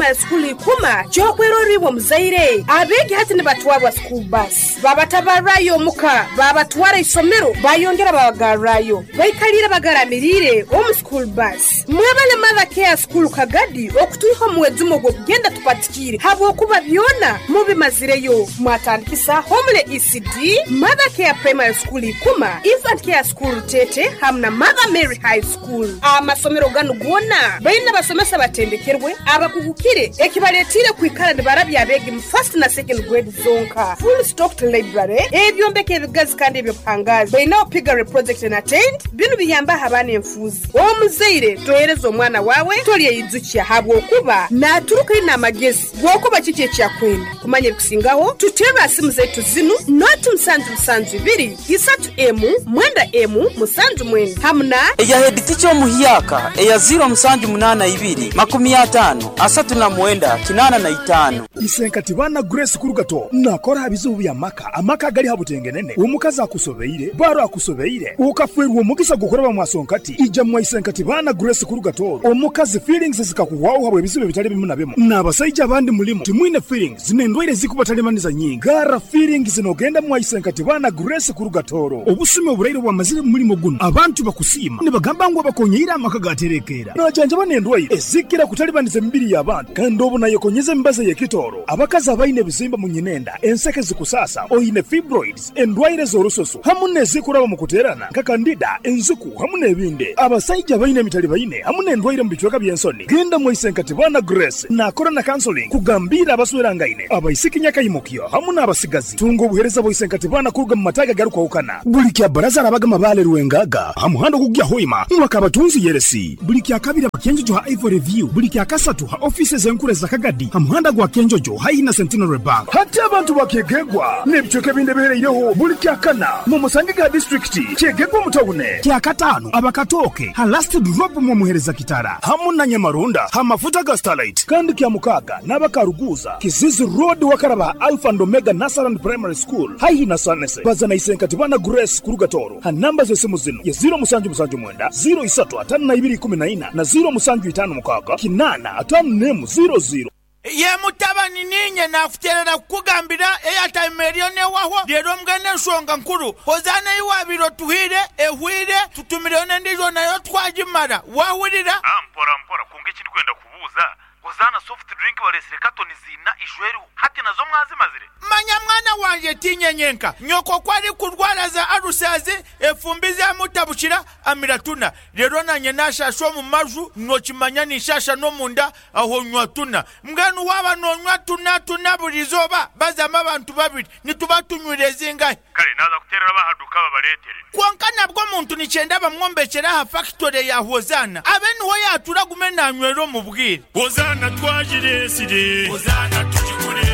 Primary School Ikuma ky'okwerorra iwe omuzaire. Abeegi hati nibatwarwa school bus, babatabarrayo omuka, babatwara isomero, bayongera babagarrayo. Baikaliire bagaramiriire omu school bus. Mwebale Mother Care School Kagadi okutwiha omu mwejumo gw'okugenda tupatikiire habwokuba byona mubimazireyo. Mwatandikisa Homely ECD, Mother Care Primary School Ikuma, Infant Care School Rutete hamu na Mother Mary High School. Amasomero ganu goona baine abasomesa abatendekerwe, abakugukire ekibaletiire kwikara nibarabya abeegi mu first na second grade zonka. Full stocked library, ebyombeko ebigazi kandi eby'obuhangaazi. Baineho piggery project na tent, binu biyambaho abaana enfuuzi. Omuzaire tohereza omwana waawe tolyeyijukya habwokuba naturuka aine amagezi g'okuba kiki eki akwenda. Kumanya ebikusingaho, tuterre aha simu zaitu zinu, noti musanju musanju ibiri, isatu emu, mwenda emu, musanju mwenda hamu na. Eya heeditica omuhyaka eya ziiro musanju munaana ibiri, makumi ataano, asatu na mwenda, kinaana na itaano. Isenkati baana Grace Kurugato nakora aha bizibu bya maka, amaka agali ha butengenene, omukazi akusobeire, baro akusobeire, okafwerwa omugisa gw'okuraba mwa Sonkati, ija mwa Isenkati baana Grace Kurugato, omukazi feelings zikakuhwaho habw'ebizibu ebitali bimu na bimu, n'abasaija abandi mulimu timwine feelings n'endwaire ezikubatalibaniza nyingi, garra feelings nogenda mwa Isenkati baana Grace Kurugatoro. Obusumi oburaire obwamazire mu mulimo gunu, abantu bakusiima nibagamba ngu abakonyeire amaka gaterekeera. Najanjaba n'endwaire ezikira kutalibaniza emibiri y'abantu kandi obu nayekonyeza emibazi ey'ekitooro. Abakazi abaine ebizimba mu nyinenda, enseke zikusaasa, oine fibroids, endwaire z'orususu hamu n'ezikuraba mu kuteerana nka kandida, enziku hamu n'ebindi. Abasaija abaine emitalibaine hamu n'endwaire mu bicweka by'ensoni, genda mwaise nka Tibana Grace naakora na counseling kugambiira abaswerangaine, abaisiki nyakaimukyo hamu n'abasigazi. Tunga obuheereza bwa Isenkati Baana kuruga mu mataagi agarukwahukana. Buli kya Bbaraza arabaga Mabaale Rwengaga ha muhanda ogukugya Hoima ngu Akabatunzi Yeresi. Buli kya Kabiri aba Kyenjojo ha Ivory View. Buli kya Kasatu ha ofiisi ez'enkuru eza Kagadi ha muhanda gwa Kyenjojo haihi na Centenary Bank. Hati abantu ba Kyegegwa n'ebicweka ebindi ebihereireho buli kya Kana mumusangege ha disiturikiti Kyegegwa omu tawune. Kya Kataano aba Katooke ha Last Drop mwomuhereza Kitara hamu na Nyamarunda ha mafuta ga Starlight. Kandi kya Mukaaga n'aba Karuguuza, Kizizi Road wakaraba ha Alpha and Omega Nursery and Primary School haihi na Sanese. Baza na Isenkati Bana Grace kuruga Tooro ha namba z'esimu zinu ye ziiro musanju musanju mwenda, ziiro isatu ataano na ibiri ikumi na ina na ziiro musanju itaano mukaaga kinaana ataano n'emu ziiro ziiro. Ye mutabani, niinye naakuteerera kukugambira eyataima eriyo n'ewahwo. Reero mbwenu enshonga nkuru, Hozaana ei waabaire otuhaire ehweire, tutumireyo n'endiijo nayo twagimara. Waahurira? Mpora mpora, kwonka eki ndikwenda kubuuza, Hozaana soft drink bareetsire katoni ziina ijo eriho, hati nazo mwazimazire? Manya mwana wangye, tiinye nyenka. Nyoko ku arikurwara za alusazi, efumbi zamutabukira, amira tuna. Reero naanye naashaasha omu maju, nookimanya ninshaasha n'omunda, aho nywa tuna. Mbwenu waaba noonywa tuna tuna buri izooba, bazamu abantu babiri, nituba tunywire zingahi? Kare naaza kuteerera ab'aha duuka babareetere. Kwonka nabwo omuntu nikyenda bamwombekyere aha fakitore ya Hozaana abe niho yaatuura agume naanywera omu bwire. Hozaana twagireesire. Hozaana tugigure.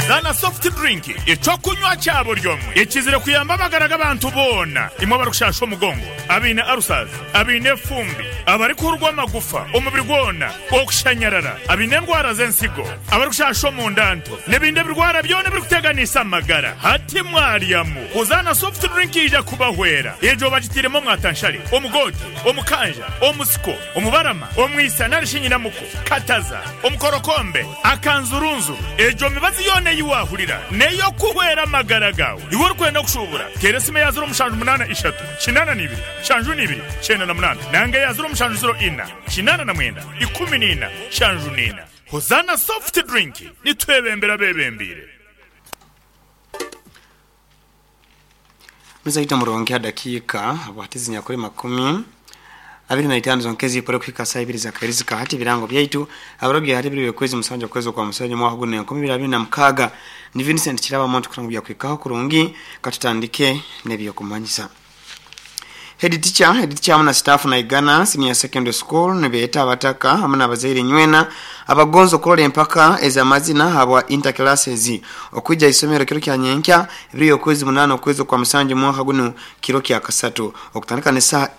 Zaana Soft Drink, eky'okunywa kya buri omwe ekizire kuyamba amagara g'abantu boona. Imwe abarikushaasha omugongo, abaine ulcers, abaine efumbi, abarikuhurwa amagufa omubiri gwona, okushanyarara, abaine endwara z'ensigo, abarikushasha omunda nto, n'ebindi ebirwara byona ebirikuteganisa amagara. Hati mwaryamu Hozaana Soft Drink eija kubahwera. Egyo bagitairemu omwatanshare, omugoote, omukanja, omusiko, omubarama, omwisa nari shi nyinamuko, kataza, omukorokombe, akanzurunzuru. Egyo mibazi yoona ei waahurira n'ey'okuhwera amagara gaawe. Iwe orikwenda kushuubura, teera esimu eya ziro mushanju munaana ishatu, kinaana na ibiri, nshanju na ibiri, kyenda na munaana nanga eya ziro mushanju ziro ina, 89 14 74. Hozaana Soft Drink, nitwebembera abebembeire. Muzaita murungi ha dakiika bwati zinyakuli makumi abiri na itaano zonka ezipore kuhika saa ibiri zakahirizika hati ebirango byaitu abarobya hati ebiro byokwezi musanju okwezi okwa musanju omwaka guno enkumi ibiri abiri na mukaaga ni Vincent Kiraba Monti kurangu byakuhikaho kurungi katutandike nebyokumanyisa. Head teacher, Head teacher hamu na staff Naigana Senior Secondary School nibeeta abataka hamu n'abazaire nywena abagonza okurora empaka ez'amazina habwa Inter Classes okwija isomero kiro kya nyenkya ebiro y'okwezi munaana okwezi okwa musanju mwaka gunu kiro kya kasatu okutandika n'esaaha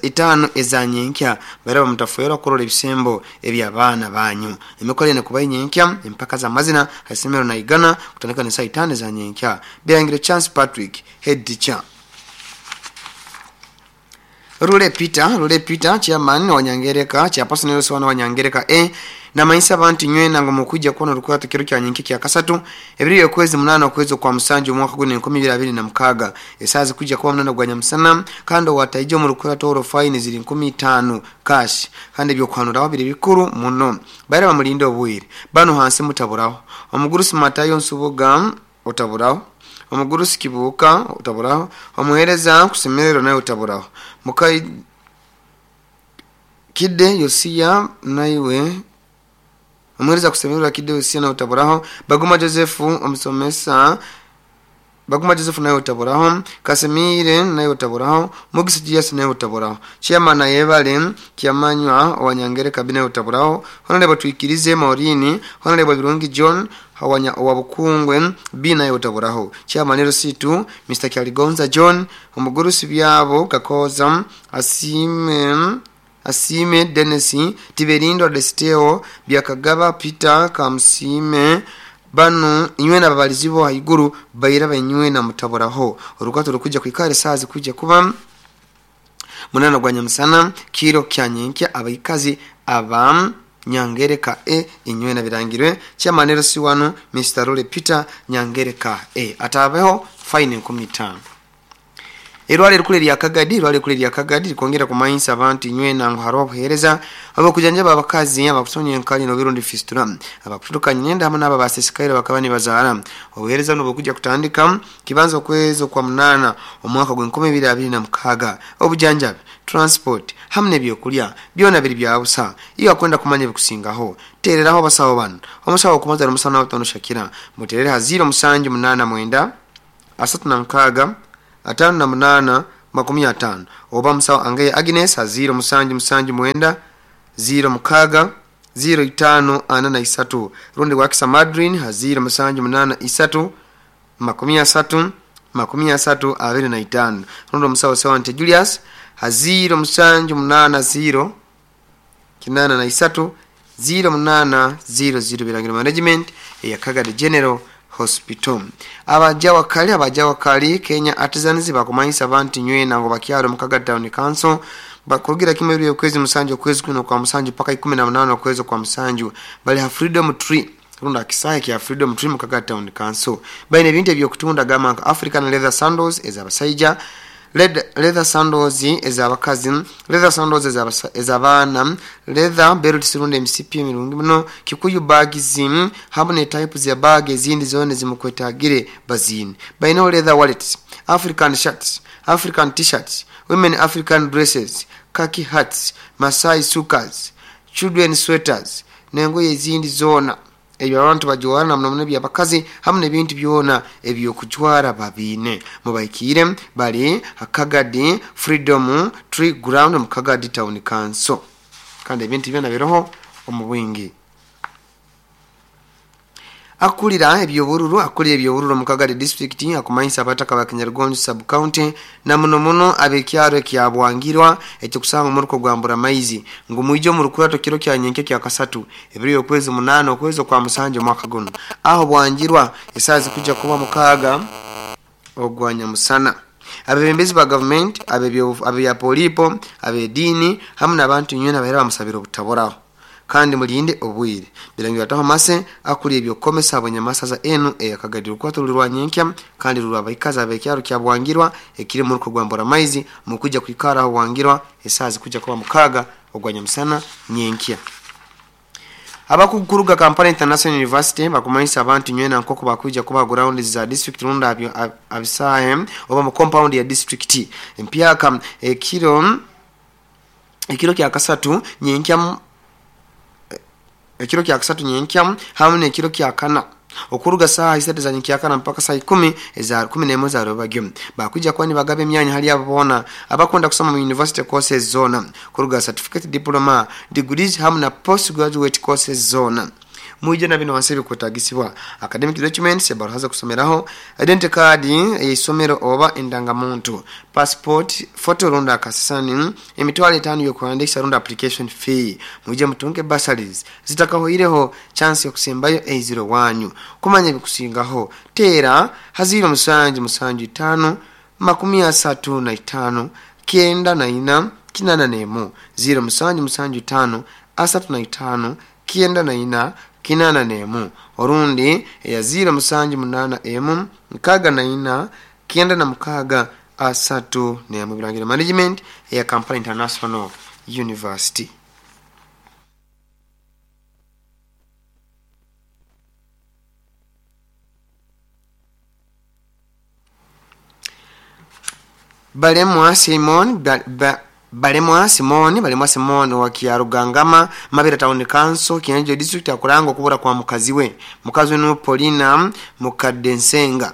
itaano eza nyenkya baraba mutafwerwa kurora ebisembo eby'abaana banyu. Emikoro enu ekubaho nyenkya empaka z'amazina ha isomero Naigana kutandika n'esaaha itaano eza nyenkya. Birangire Chance Patrick, Head Teacher. Lule Peter, Lule Peter, Chairman wa Nyangereka, Chairperson LC1 wa Nyangereka A, Namanyisa abantu nywena ngo mukwijja kubona orukurato kiro kya nyenke kya kasatu ebiri okwezi 8 okwezi kwa musanju omwaka guno 2026 esazi kujja kuba 8 gwa nyamusana kandi wataije mu rukurato oro fine ziri 15 cash kandi ebyo biri bikuru muno bayira bamulinde obwire bano hansi mutaburaho omugurusi Matayo Nsubuga otaburaho omugurusi Kibuka otaburaho omuhereza kusemerero naye otaburaho mukai Kide Yosia naiwe omuhereza kusemerero Kide Yosia naye otaburaho Baguma Joseph omusomesa Baguma Joseph naye otaburaho Kasemire naye otaburaho Mugisi Julius naye otaburaho Chairman Ayebale Kiamanywa Owanyangere kabine otaburaho Honorable Twikirize Maureen Honorable Birungi John Hawanya Owabukungwe B naye otaburaho Chairman Rositu Mr Kyaligonza John Omugurusi byabo Kakoza Asime Dennis Tiberindo Desteo Byakagaba Peter Kamsime banu inywe na babalizibo haiguru bayira banywe na mutaboraho urukato rukujja kwikare sazi kujja kuba 8 gwa nyamusana kiro kya nyenkya abaikazi aba Nyangereka e inywe na birangirwe chairman si wanu Mr Role Peter Nyangereka e atabeho fine 15. Erwale rukule lya Kagadi rwale kule lya Kagadi likongera kumanyisa abantu inywe na ngo obuhereza abakujanjaba abakazi abakusonya enkali no birundi fistula abakuturuka nyenda hamwe n'aba basesikaire bakaba nibazaara obuhereza no bukujja kutandika kibanzo okwezo kwa 8 omwaka gwe 2026 obujanjabi transport hamwe n'ebyokulya byona biri bya busa iyo akwenda kumanya bikusingaho tereraho abasawo bano omusawo kumaza omusana wa Shakira muterere ha 0 7 8 9 36 58 50 oba musawo Angeye Agnes ha 0 7 7 9 0 6 0 5 43 rundi wakisa Madrin ha 0 7 8 3 30 30 25 rundi musawo Sewante Julius ha 0 7 8 0 83 0 8 0 0 Birangiro Management ya Kagadi General Hospital. Abajawa kali Kenya Artisans bakumanyisa abantu nywe nango bakyalo mukaga Town Council bakurugira kimwe biri okwezi musanju okwezi kuno kwa musanju paka 18 okwezi kwa musanju bali ha Freedom Tree runda kisahe kya Freedom Tree mukaga Town Council bayine ebintu ebyokutunda gama African leather sandals ezabasaija leather sandals ezabakazi leather sandals ezabana leather belt runda MCP mirungi muno Kikuyu bags hamwe ne types ya bag ezindi zone zimukwetagire bazini bayine leather wallets African shirts African t-shirts women African dresses khaki hats Masai sukas children sweaters nengoye ezindi zona ebyo abantu bajwara muno byabakazi hamwe n'ebintu byona ebyokujwara babine mubaikire bali Kagadi Freedom Tree Ground mu Kagadi Town Council kandi ebintu byona biroho omubwingi. Akulira ebyobururu mu Kagadi district akumanyisa abataka ba Kinyargonjo sub county na muno muno abekyaro kya Bwangirwa ekyo kusanga muruko gwambura maizi ngo muijo mu rukurato kiro kya nyenke kya kasatu ebiri okwezi 8 okwezi kwa musanju mwaka guno aho Bwangirwa esazi kujja kuba mukaga ogwanya musana abebembezi ba government abebya polipo abedini hamwe n'abantu nywe nabahera bamusabira obutaboraho kandi mulinde obwire birangira taho mase akuli ebyokomesa abanyamasaza enu eyakagadiro kwatulirwa nyenkya kandi rurabaikaza abekyaro kya Bwangirwa ekiri mu ruko gwambura maizi mukujja kwikara aho Bwangirwa esazi kujja kuba mukaga ogwanya musana nyenkya. Abakuguruga Kampala International University bakumanyisa abantu nywena nkoko bakuja kuba ground za district runda abisahe oba mu compound ya district empyaka ekiro kya kasatu nyenkya ekiro kya kasatu nyenkya hamwe n'ekiro kya kana okuruga saha 3 za nyenkya kana mpaka saa 10 eza 11 za robagyo bakuja kwani bagabe emyanya hali abona abakunda kusoma mu university courses zona kuruga certificate diploma degrees hamwe na postgraduate courses zona Mwije na bino wansebi kwetagisibwa academic documents ebaraza kusomeraho, identity card eyisomero oba endangamuntu, passport, photo runda akasani, emitwalo 5 yokuandikisha runda application fee. Mwije mutunge bursaries zitakahoireho chance yokusembayo A0 wanyu. Kumanya bikusingaho tera haziro musanju musanju 5 35 9 na 4 8 0 musanju musanju 5 35 94 81 orundi eya 0781 64 96 31. Birangiro Management eya Kampala International University. Balemwa Simon Balemwa Simon Balemwa Simon wa Kiarugangama Mabera Town Council, Kinanjo District, akuranga okubura kwa mukazi we. Mukazi we Paulina Mukadensenga,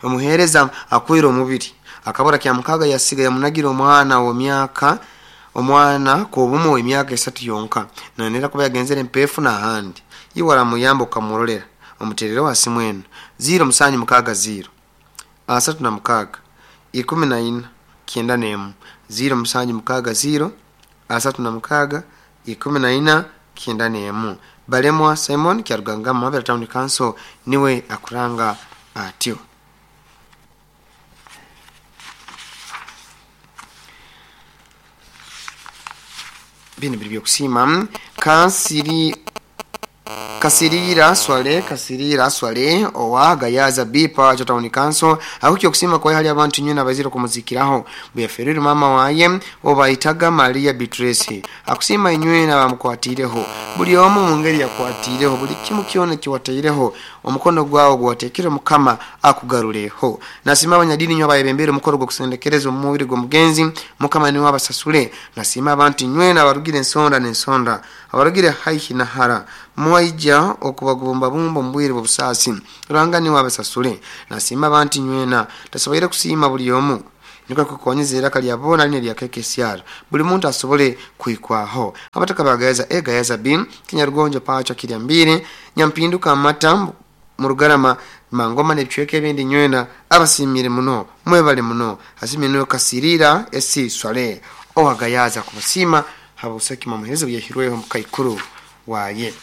omuhereza akwira omubiri akabura kya mukaga yasiga yamunagira omwana wa myaka omwana ko bumu emyaka 3 yonka, nanera kuba yagenzere mpefu na handi iwara muyambo kamurolera omuterero wa simwenu 0 musanyu mukaga 0 asatu na mukaga 14 91 0 musanju mukaga 0 asatu na mukaga 14 91. Balemwa Simon Kyarugangama Mabera Town Council niwe akuranga atyo. Bino biri byokusima. Kansiri Kasirira Swale Kasirira Swale owa Gayaza Bipa Town Council akukyo kusima kwa hali abantu nyina bazira kumuzikiraho buyaferere mama waye obaitaga Maria Beatrice akusima inywe na bamukwatireho buli omu mu ngeri yakwatireho buli kimu kyona kiwataireho omukono gwawo gwatekere mukama akugaruleho. Nasima abanyadini nywa bayebembere omukoro gwo kusendekereza omubiri gw'omugenzi mukama niwe abasasule. Nasima abantu nywe na barugire ensonda n'ensonda abarugire haihi na hara mwaija okubagumba bumba mbwire bubusasi ranga niwe abasasule. Nasima abantu nywena tasoboire kusima buli omu niko kukonyeza era kali abona line lya KKCR buli muntu asobole kuikwaho. Abataka bagayaza e Gayaza B Kinyarugonjo pacha kirya mbiri Nyampinduka amata Murugarama Mangoma n'ebicweka ebindi nywena abasimire muno mwebale muno. Asimire Kasirira esi Swale owagayaza kubasima habusaki mamuhezo yahirweho mukaikuru waye.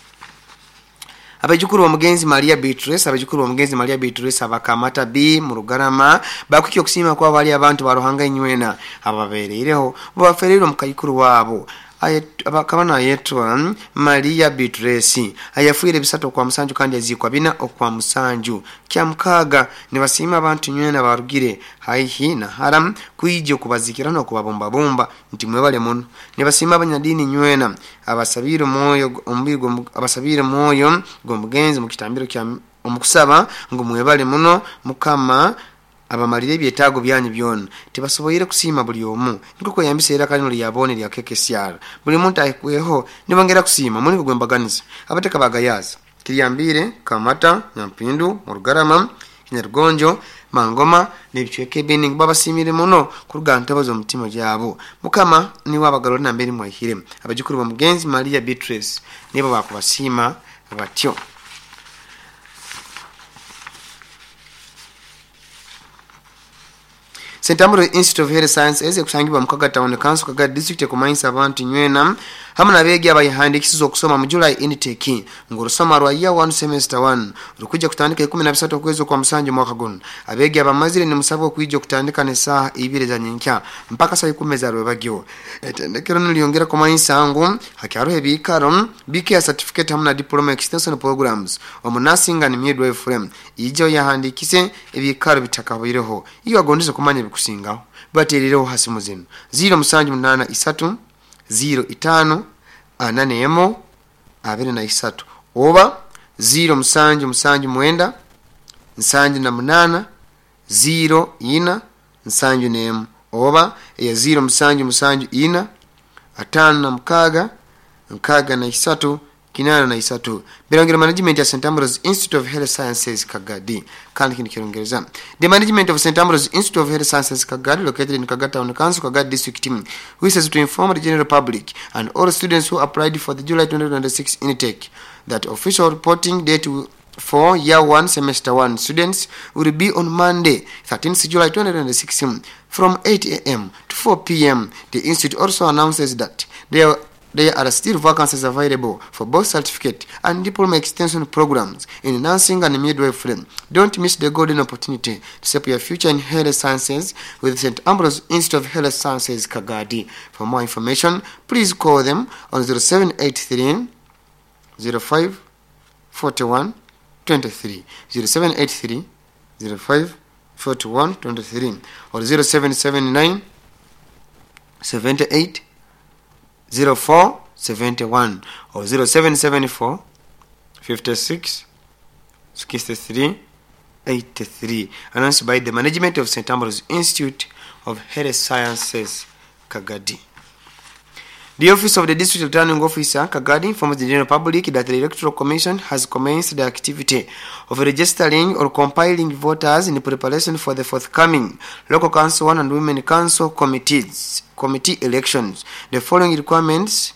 Abajukuru wa mugenzi Maria Beatrice, abajukuru wa mugenzi Maria Beatrice abakamata B Murugarama bakukyo kusima kwa bali abantu baruhanga inywena ababerereho baferero mukayikuru wabo abakabana yetwa Maria Beatrice ayafuire bisatu kwa musanju kandi azikwa bina okwa musanju kya mukaga nibasima abantu nywena barugire haihi na haram kuije kubazikira no kubabomba bomba nti mwebale muno. Nibasima abanyadini nywena abasabire moyo ombigo abasabire moyo gomugenzi mu kitambiro kya omukusaba ngo mwebale muno mukama abamalire ebyetaago byanyu byona. Tibasoboire kusima buli omu niko kweyambisa era kalino lyabone lya KKCR buli muntu ayikweho nibongera kusima muli kugwembaganiza. Abateka bagayaza Kiryambire Kamata Nyampindu Murugarama Kinyarugonjo Mangoma n'ebicweka ebindi babasimire muno kuruga ntabazo omutima gyabo mukama niwe abagalole nambere mwahire. Abajukuru ba mugenzi Maria Beatrice nibo bakubasima batyo. St. Ambrose Institute of Health Sciences ekusangibwa mu Kaga Town Council Kaga District kumanyisa abantu nywena hamwe n'abeegi abayihandikisiza okusoma mu July intake ng'olusoma lwa year 1 semester 1 rukujja kutandika 13 okwezi kwa musanju mwaka guno. Abeegi abamazire ni musabwa okwijja okutandika n'essaaha 2 za nyenkya mpaka saa 10 za rwebagyo. Ettendekero nilyongera kumanyisa ngu hakyaruho ebiikaro BK certificate hamwe na diploma extension programs omu nursing and midwifery ijo yahandikise ebiikaro bitakabireho iyo agondeze kumanya bikusingaho baterereho hasi muzino 0 musanju 8 3 0 5 4 23 oba 0 musanju musanju mwenda nsanju na munana 0 ina nsanju nemu oba ya 0 musanju musanju ina 5 na mukaga nkaga na 3 kinana na 3. Birangiro Management ya St. Ambrose Institute of Health Sciences Kagadi kandi kindi kirongereza. The management of St. Ambrose Institute of Health Sciences Kagadi located in Kaga Town Council Kagadi District wishes to inform the general public and all students who applied for the July 2026 intake that official reporting date for year 1 semester 1 students will be on Monday 13th July 2026 from 8 a.m. to 4 p.m. The institute also announces that there are still vacancies available for both certificate and diploma extension programs in nursing and midwifery. Don't miss the golden opportunity to shape your future in health sciences with St. Ambrose Institute of Health Sciences Kagadi. For more information, please call them on 0783 05 41 23, 0783 05 41 23 or 0779 78 04 71 or 0774 56 63 83. Announced by the management of St. Ambrose Institute of Health Sciences, Kagadi. The Office of the District Returning Officer, Kagadi, informs the general public that the Electoral Commission has commenced the activity of registering or compiling voters in preparation for the forthcoming Local Council 1 and Women Council committee elections. The following requirements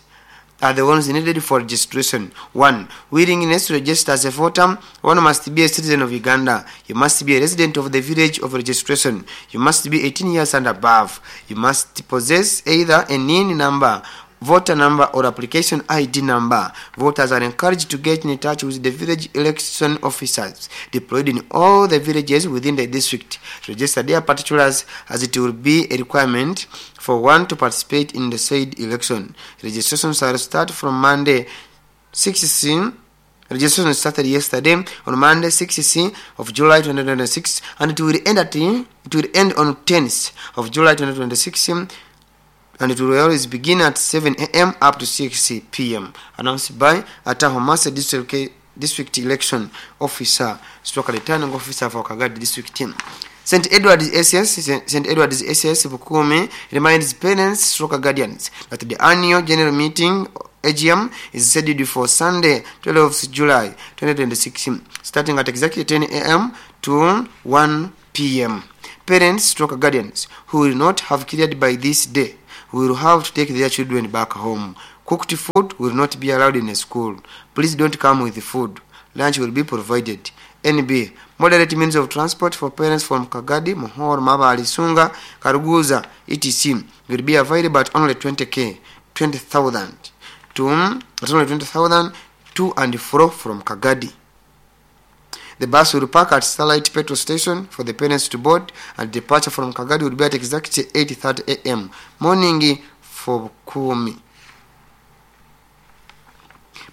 are the ones needed for registration. 1. Willingness to register as a voter. One must be a citizen of Uganda. You must be a resident of the village of registration. You must be 18 years and above. You must possess either a NIN number, voter number, or application ID number. Voters are encouraged to get in touch with the village election officers deployed in all the villages within the district to register their particulars, as it will be a requirement for one to participate in the said election. Registration shall start from Monday 6C. Registration started yesterday on Monday 6C of July 2026, and it will end on 10th of July 2026, and it will always begin at 7 a.m. up to 6 p.m. Announced by Atahomasa District Election Officer, stroke returning officer for Kagadi District Team. St. Edward's SS Bukumi reminds parents, stroke guardians, that the annual general meeting AGM is scheduled for Sunday, 12th July 2026, starting at exactly 10 a.m. to 1 p.m. Parents, stroke guardians who will not have cleared by this day will have to take their children back home. Cooked food will not be allowed in the school. Please don't come with the food. Lunch will be provided. NB. Moderate means of transport for parents from Kagadi, Mohor, Mabali, Sunga, Karuguza, etc. will be available at only 20,000 to at only 20,000 to and fro from Kagadi. The bus will park at Starlight Petrol Station for the parents to board, and departure from Kagadi will be at exactly 8:30 a.m. morning for Kumi.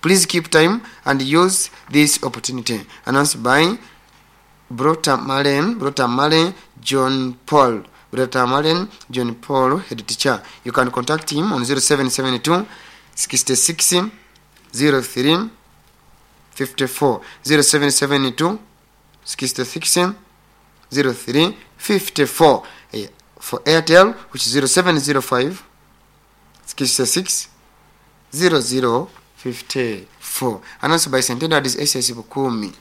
Please keep time and use this opportunity. Announced by Brota Malen John Paul, head teacher. You can contact him on 0772 66 03 54, 0772 66 03 54. For Airtel, which is 0705 66 00 54. Announced by St. Edward's SS Bukumi.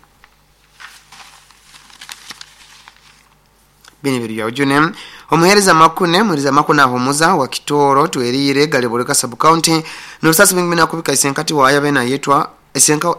Bini bya ujune omuhereza makune ahumuza wa Kitoro Twerire Galiboleka sub county n'obusasi bwingi nakubika isenkati waye abena yetwa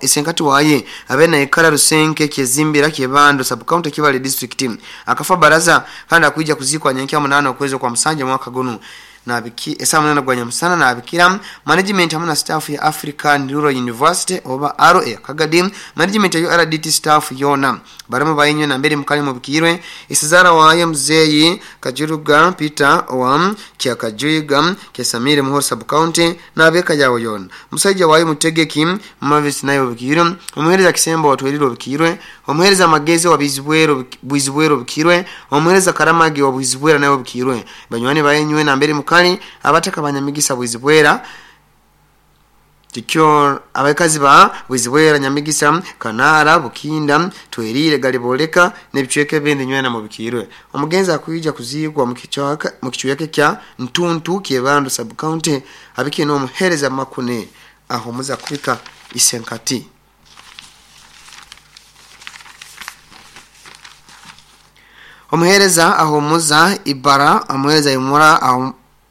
esenkati waye abena ikara Rusenke Kyezimbira Kyebando sub county Kibale district akafa baraza kandi akuija kuzikwa nyenkya 8 okwezo kwa musanja mwaka gunu nabiki esamunana gwanya musana nabikira management hamwe na staff ya African Rural University oba RA Kagadi management ya URDT staff yona barimo bayinywe na mbere mukali mubikirwe isizara waye mzeyi Kajuruga Peter wa Kyakajuiga Kesamire Muhoro sub county nabeka yawo yona musajja waye mutegeki Mavis nayo bikirwe omuhereza Kisembo watweriro bikirwe omuhereza Magezi wa Bizibwero bikirwe omuhereza Karamagi wa Bizibwera nayo bikirwe banywani bayinywe na mbere mukali abataka banyamigisa Bwizibwera tikyo abakazi ba Bwizibwera Nyamigisa Kanara Bukinda Twerire Galiboleka nebicweke bindi nywena mu bikirwe omugenzi akuyija kuzigwa mu kichweke kya Ntuntu Kyebando sub county abike no muhereza makune aho muza kubika isenkati. Omuhereza ahomuza ibara omuhereza imura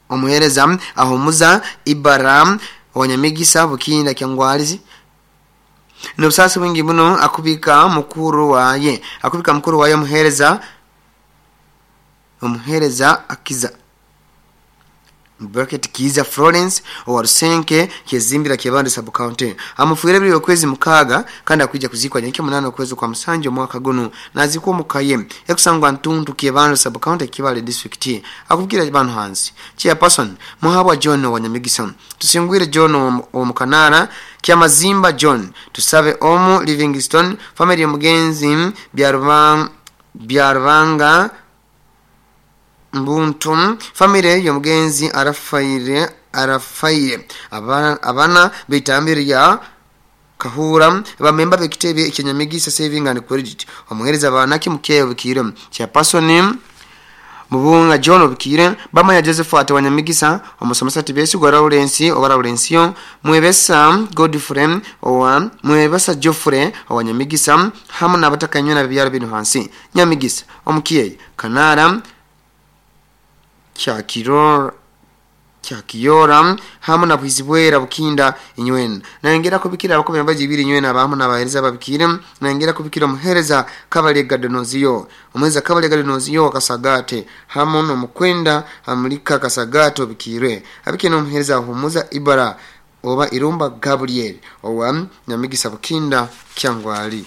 omuhereza ahomuza ibara wanyamigisa Bukinda Kyangwalizi n'obusasi bwingi buno akubika mukuru waye omuhereza akiza Bracket Kiza Florence owa Rusenke Kyezimbira Kyebando sub county amufuire biri okwezi 6 kandi akuija kuzikwa nyenke 8 okwezi kwa musanju omwaka guno nazikwa omukaye ekusangwa Ntuntu Kyebando sub county Kibale district. Akubwira abantu hansi chairperson Muhabwa John wa Nyamigisa, Tusingwire John omukanara Kyamazimba John, Tusabe Omu Livingstone, family Mugenzi Byarubanga Mbuntu, family y'omugenzi Arafaire abana bitambire ya Kahura, bamemba bekitebe ekyanyamigisa Saving and Credit, omuhereza banaki mukeyo bikire chairperson Mubunga John obikire, bamanya Joseph ate wanyamigisa, omusomesa Tibesigwa Lawrence oba Lawrencio, Mwebesa Godfrey owa Mwebesa Geoffrey owanyamigisa, hamu n'abatakanywa na byaro bino hansi Nyamigisa omukiye Kanara Kyakiyora hamu na Bwizibwera Bukinda inywena. Nayongera kubikira abakombe mbaji ibiri inywena abamu n'abahereza babikire. Nayongera kubikira omuhereza Kabalega Donozio, omuhereza Kabalega Donozio Kasagate hamu n'omukwenda Amulika Kasagate obikire. Abikire n'omuhereza Humuza Ibara oba Irumba Gabriel owa Nyamigisa Bukinda Kyangwali.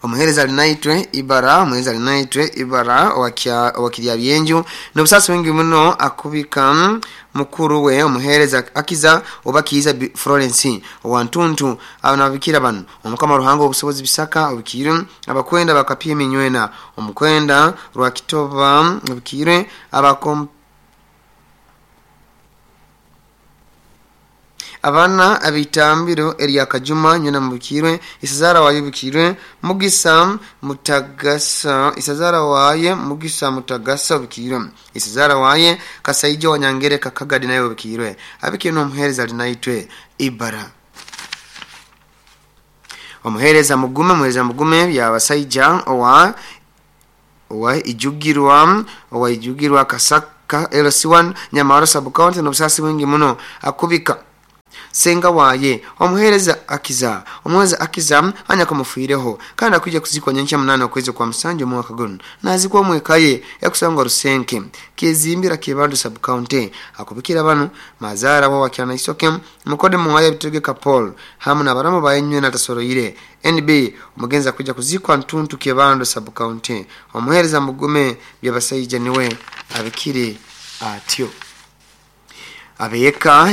Omuhereza alinaitwe Ibara, omuhereza alinaitwe Ibara owakirya byenju n'obusasi wingi muno akubika mukuru we omuhereza Akiza oba Kiza Florence owantuntu abanabikira bano omukama Ruhango obusobozi Bisaka obikire, abakwenda bakapye minywena omukwenda Rwakitoba obikire, abakom abana abitambiro Elia Kajuma nyuna mubikirwe, Isazara waye bikirwe, Mugisa Mutagasa, Isazara waye Mugisa Mutagasa bikirwe, Isazara waye Kasaijo Wanyangere Kakagadi nayo bikirwe. Abikire n'omuhereza alinaitwe Ibara. Omuhereza Mugume, omuhereza Mugume byabasaija owa Ijugirwa Kasaka LC1 Nyamaro sub county n'obusasi bwingi muno akubika senga waye omuhereza Akiza, omuhereza Akiza anya kumufireho kandi akujja kuzikwa nyencha 8 okwezi kwa musanju omwaka guno nazikwa omwekaye yakusangwa Rusenke Kyezimbira Kyebando sub county. Akubikira bano mazara wa wakyana isoke mukode muwaye bitegeka Paul hamu na baramu bayenywe na tasoroire NB omugenzi akujja kuzikwa Ntuntu Kyebando sub county. Omuhereza Mugume byabasaija niwe abikire atyo. Abeka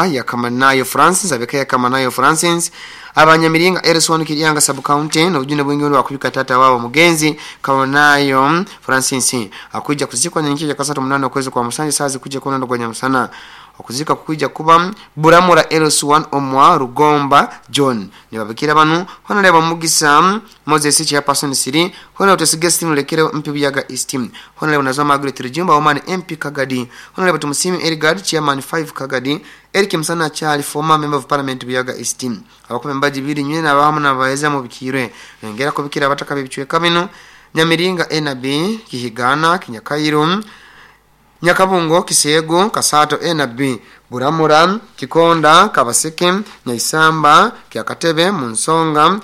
ya Kamanayo Francis, abeka ya Kamanayo Francis abanyamiringa Ereswanu Kiryanga sub county n'obujune bwingi wakubika tata wabo mugenzi Kamanayo Francis akuja kuzikwa nyenke ya kasatu 8 okwezi kwa musanju sazi kuja kono gwa nyamusana okuzika kuja kuba Buramura LS1 omwa Rugomba John nibabikira banu honorable Mugisa Moses chairperson siri honorable Tesigestine Lekere MP Buyaga East honorable Nazwa Margaret Rujumba Oman MP Kagadi honorable Tumusimi Erigard chairman 5 Kagadi Eric Msana Charlie former member of parliament Buyaga East abakombe mbaji biri nywe nabahamu nabaheza mu bikirwe ngera kubikira abataka bibicweka bino Nyamiringa NB Kihigana Kinyakairo Nyakabungo Kisego Kasato NB Buramura Kikonda Kabaseke Nyaisamba Kyakatebe Munsonga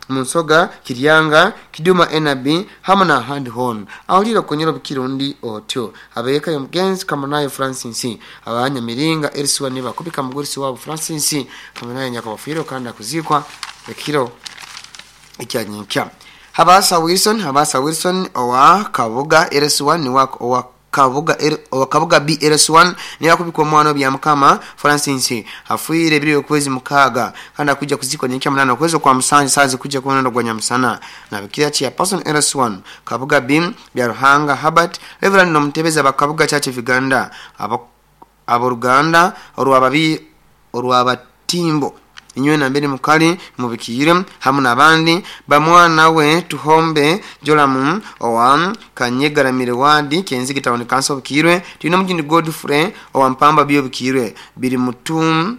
Munsoga Kiryanga Kiduma NB hamwe na Handhorn awulira kunyura bukirundi otyo abeka yomugenzi Kamanayo Francis abanyamiringa Eriswa niba kubika mugurisi wabo Francis Kamanayo nyakabafiro kandi akuzikwa ekiro ekyanyinkya. Habasa Wilson owa Kabuga RS1 ni wako owa Kabuga B RS1 ni yakubikwa mwana bya mukama Francis afuire biri okwezi 6 kandi akuja kuzikwa nyenka 8 okwezi kwa musanju sazi kuja kuona gwa nyamusana na bikira cha person RS1 Kabuga B bya Ruhanga Habert Reverend nomtebeza bakabuga Church of Uganda aboruganda orwababi orwabatimbo inywe na mbere mukali mubikire hamu nabandi bamwana we Tuhombe Jolamu owa Kanyegaramire wadi Kenzigi Town Council bikirwe tino mujindi Godfrey owa Mpamba bio bikirwe biri mutumbwe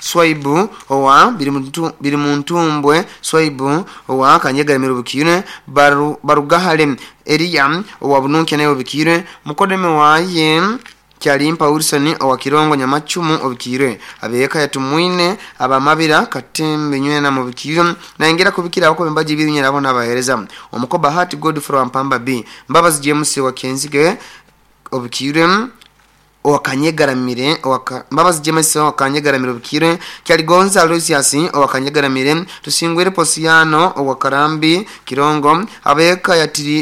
Swaibu owa biri muntumbwe Swaibu owa Kanyegaramire bikirwe Barugahale Eria owa Bununke nayo bikirwe mukodeme waye Kyalimpa Wilson owa Kirongo Nyamachumu obikirwe, abeka yatumwine abamabira Katembe nywena mubikirwe, naingira kubikira abako bembaji biri nyera abona abahereza omukoba Hati Godfrey wa Mpamba B, Mbabazi James wa Kenzige obikirwe, owakanyegaramire Mbabazi James owakanyegaramire obikirwe, Kyaligonza Aloysius owakanyegaramire, Tusingwire Posiano owakarambi Kirongo, abeka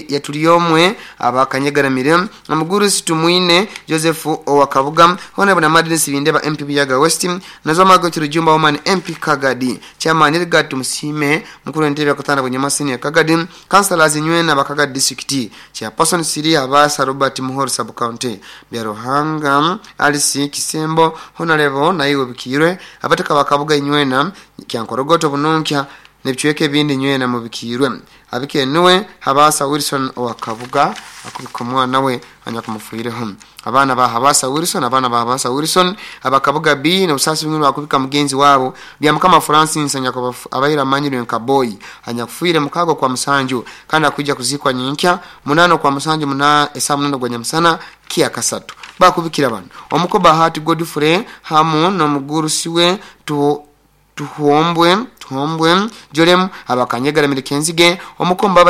yatuliyomwe abakanyegaramire, omuguru Situmwine Joseph owakabuga, Honorable Namadini Sibindeba MP Buyaga West, Nazoma Kirujumba Woman MP Kagadi, Chairman Edgar Musime mukuru entebe yakutana Bunyamasini ya Kagadi, Councillors Nywena Bakagadi District, Chairperson Siri Abasa Robert Muhoro Sub County, Byaruhanga Alice Kisembo Honorable naiwe bikirwe, abataka bakabuga inywena Kyankorogoto bununkya nebichweke bindi nywena mubikirwe, abikenuwe Habasa Wilson owakabuga akubika omwana we anyakumufwireho, abaana ba Habasa Wilson, abaana ba Habasa Wilson abakabuga B n'obusasi bwingi bakubika mugenzi wabo bya Mukama Francis anyakubaira amanyirwe nka boy anyakufuire mukago kwa musanju kandi akujja kuzikwa nyinkya 8 kwa musanju muna esa 8 gwa nyamusana kia kasatu bakubikira bano omukoba Hati Godfrey hamu n'omugurusi we tuhombwe Jolem abakanyegara mirikenzige omukomba.